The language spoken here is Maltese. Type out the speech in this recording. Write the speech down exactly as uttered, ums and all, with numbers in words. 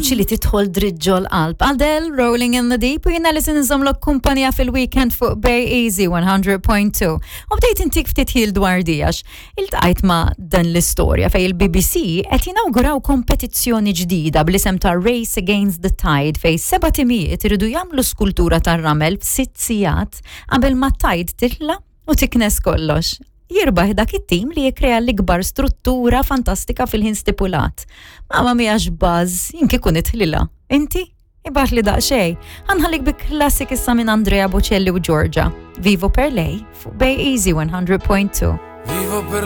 Vuċi li tidħol dritt ġol-qalb. Adele, Rolling in the Deep, u jiena li se nżommlok kumpanija fil-weekend fuq Bay Easy one hundred point two. U bdejt intik ftit ħil dwar dijax. Iltqajt ma' dan l-istorja fej il-B B C qed jinawguraw kompetizzjoni ġdida bl-isem ta' Race Against the Tide, fej seba' timijiet iridu jagħmlu skultura tar-ramel f'sitt sigħat qabel ma tide titla' u tiknes kollox. Jirbaħ dak it-tim li jikrea l-ikbar struttura fantastika fil-ħin stipulat. Mamma mia, x'buzz, jien kieku nidħlilha. Inti? Ibgħatli daqsxejn. Ħa nħallik bi classic issa minn Andrea Bocelli u Giorgia. Vivo per lei fuq Bay Easy one hundred point two. Vivo per